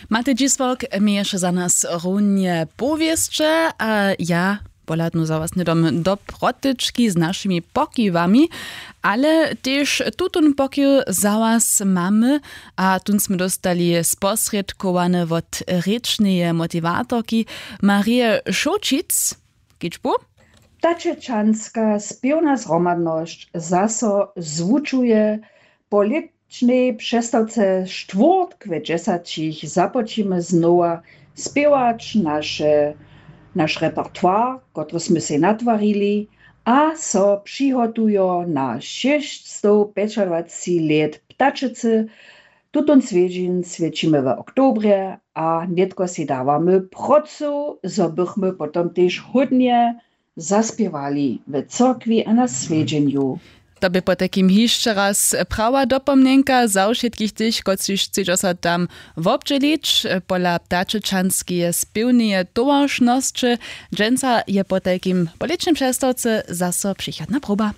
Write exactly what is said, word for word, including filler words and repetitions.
Matej Dźisławk měješe za nas runje powěsće a ja pohladnu za was hnydom do protyčki z našimi pokiwami, ale tež tutón pokiw za was mamy. A tón smy dóstali sposrědkowane wot rěčneje motiwatorki Marije Šołćic. Kičbu. Tačećanska spěwna zhromadnosć zaso zwučuje po lětšnej přestawce štwórtk we dźesaćich započimy znowa spěwać naše naš repertoire, kotry smy sej natwarili, a so přihotujo na šěsćstowpjećadwaceći lět ptačecy. Tutón swjedźeń swjećimy w oktobrje a nětko sej dawamy procu, zo bychmy potom tež hódnje zaspěwali w cyrkwi a na swjedźenju. To bě potajkim hišće raz prawa dopomnjenka za wšitkich tych, kotřiž chcedźo so tam wobdźělić. Pola ptačećanskeje spěwneje towaršnosće dźensa je potajkim po lětšim přestawce zaso přichodna proba.